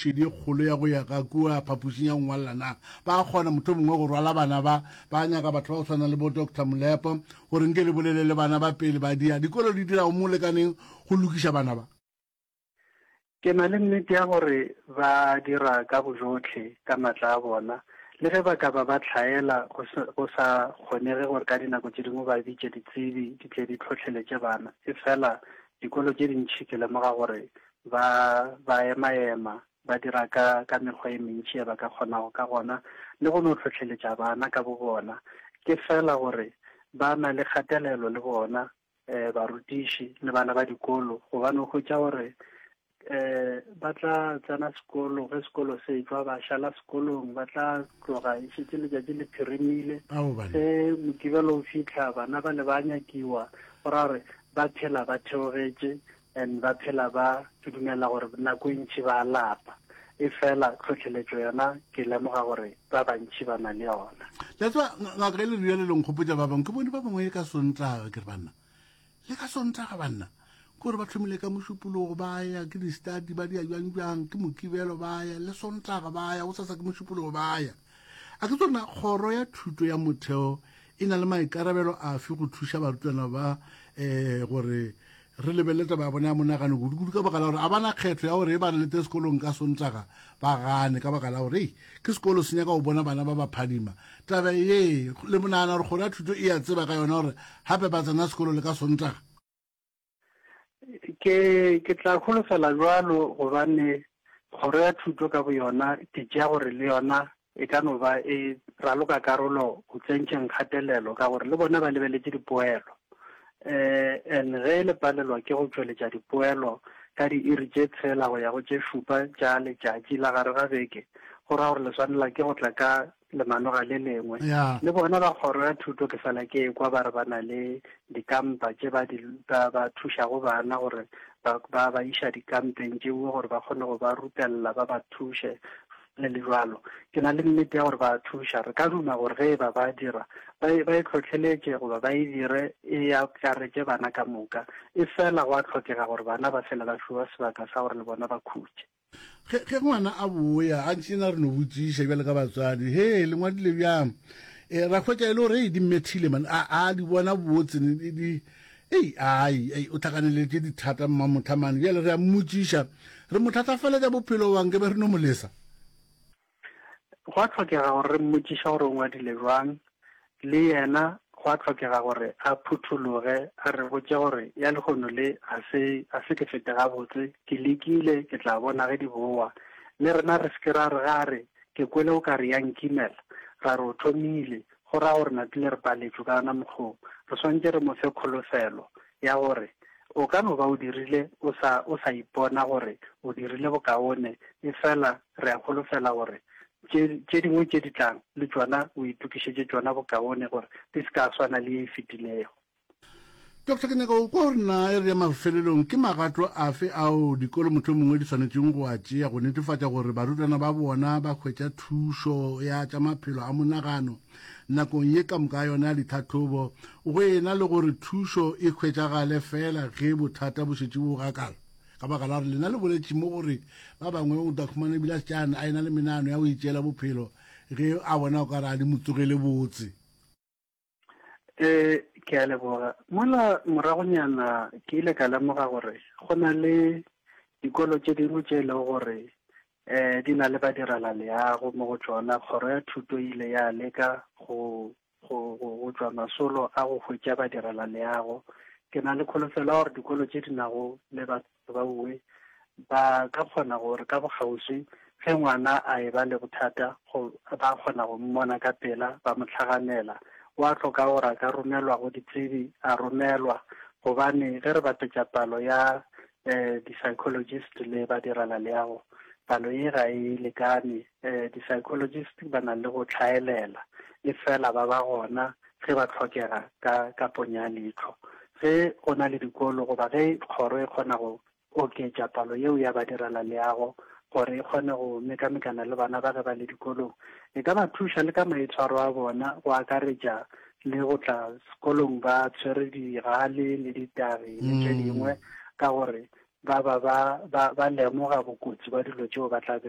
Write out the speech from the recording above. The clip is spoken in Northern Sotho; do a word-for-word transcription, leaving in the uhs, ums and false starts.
šedi e kgolo ya go ya ka kua phapošing ya go ngwalela na? Ba kgona motho mongwe go rwala bana ba, ba nyaka batho ba go tshwana le bo Doctor Molepo gore nke le bolele le bana ba pele ba dia. Dikolo di dira go mo lekaneng go lokiša bana ba. Ke na le nnete ya gore ba dira ka bojohle ka matla a bona, le ge ba ka ba ba hlaela go se, go sa kgonege gore ka dinako tše dingwe ba bitše ditsebi di tle di hlohleletše bana. Efela dikolo tše dintši ke lemoga gore ba, ba ema-ema, ba dira ka, ka mekgwa e mentši ye ba ka kgonago ka gona, le go no hlohleletša bana ka bobona. Ke fela gore ba na le kgatelelo le bona, eh, barutiši le bana ba dikolo, gobane o hwetša gore eh ba tla tsena sekolo, ge sekolo se etšwa ba šala sekolong, ba tla tloga e šetše letšatši le phirimile. Ge Mokibelo o fihla bana ba le ba nyakiwa, go ra gore ba phela ba theogetše and ba phela ba, ke dumela gore nako e ntši ba lapa. E fela tlhohleletšo yona ke lemoga gore ba bantši ba na le yona. Le tseba ngaka e le rialo le nkgopotša ba bangwe, ke bone ba bangwe ka Sontaga, ke re banna le ka Sontaga banna kore ba tlhomile ka Mošupologo ba ya ke di-study ba dia bjang bjang, ke Mokibelo ba ya le Sontaga ba ya, go sasa ke Mošupologo ba ya. A ke tsona kgoro ya thuto ya motheo e na le maikarabelo afe go thuša barutwana ba um gore re lebelele taba ya bona ya monagano kudu-kudu, ka baka la gore a bana kgetho ya gore e ba re lete sekolong ka Sontaga ba gane, ka baka la gore ei ke sekolo se nyaka go bona bana ba ba phadima. Taba ye le monagana gore kgoro ya thuto e a tseba ka yona gore gape ba tsena sekolo le ka Sontaga? Ke, ke tla holofela jwalo, gobane kgoro ya thuto ka boyona ke tšea gore le yona e ka no ba e raloka karolo go tsentšheng kgatelelo, ka gore le bona ba lebeletše dipoelo. Eh, and ge le palelwa ke go tšweletša dipoelo ka diiri tše tshela go ya go tše šupa tša letšatši la gare ga beke, go ra gore le swanela ke go tla ka lemanoga le lengwe. Yeah. Le bona ba kgoro ya thuto ke fela ke ekwa ba re ba na le dikampa tše ba di, ba, ba thušago bana gore ba, ba ba iša dikampeng tšeo gore ba kgone go ba rutella, ba ba thuše le le jwalo. Ke na le nnete ya gore ba thuša. Re ka duma gore ge e ba ba dira ba e, ba e tlhotlheletše goba ba e dire e akaretše bana ka moka. E fela go a tlhokega gore bana ba fele ba fiwa sebaka sa gore le bona ba khutše. Ge, ge ngwana a boya a ntše na re no botšiša bjale ka batswadi, he le ngwadile bjang? E, ra hwetša e le gore ei di mmethile man, a, a di bona botse, di, di, ei, ai, ei, o tlhakaneletše dithata mmamothamane. Bjale re a mmotšiša, re mo thatafaletša bophelo bang ke be re no mo lesa? Go a tlhokega gore re mmotšiša gore o ngwadile jwang, le yena go a tlhokega gore a phuthologe, a re botše gore ya lehono le a se, a se ke fete gabotse, ke lekile, ke tla bona ge di boa. Le rena re se ke ra re ga re ke kwele o ka re ya nkimela, ra re o thomile, go ra gore napile re paletšwe ka yona mokgwa. Re swanetše re mo fe kholofelo ya gore o ka no ba o dirile o sa, o sa ipona gore o dirile bokaone, e fela re a holofela gore tše, tše dingwe tše di tlang le tšona o itokišetše tšona bokaone gore di se ka swana le ye e fetilego. Doctor, ke nyaka go kwa gore na e re ya mafelelong ke magato afe ao dikolo motho mongwe di swanetšeng go a tšea go netefatša gore barutwana ba bona ba hwetša thušo ya tša maphelo a monagano nakong ye ka moka yona ya ditlhahlobo, go ena le gore thušo e hwetšagale fela ge bothata bo šetše bo gakala? Ka baka la gore lena le boletše mo gore ba bangwe o tla khumana ebile a šetše a ena le menagano ya go itšeela bophelo ge a bona o ka re a di mo tsogele botse. Eh, ke a leboga. Mola moragonyana ke ile ka lemoga gore go na le dikolo tše dingwe tše e lego gore eh di na le badirela leago mo go tšona. Kgoro ya thuto e ile ya leka go, go, go, go tšwa masolo a go hwetša badirela leago. Ke na le kholofelo ya gore dikolo tše di nago le batho ba uwe ba ka kgona gore ka bokgauswi ge ngwana a e ba le bothata go, ba kgona go mmona ka pela, ba mo hlaganela. Wa hloka gore a ka romelwa go ditsebi, a romelwa, gobane ge re bapetša palo ya eh di-psychologist le badirela leago, palo ye ga e lekane. Eh di-psychologist ba na le go tlhaelela, e fela ba ba gona ge ba tlhokega ka, ka ponya ya leihlo. Ge go na le dikolo goba ge kgoro e kgona go oketša palo yeo ya badirela leago gore e kgone go mekamekana le bana ba ge ba le dikolong, e ka ba thuša le ka maitshwaro a bona, go akaretša le go tla sekolong ba tshwere digale le ditagi le tše dingwe, ka gore ba ba ba, ba, ba lemoga bokotsi ba dilo tšeo ba tla be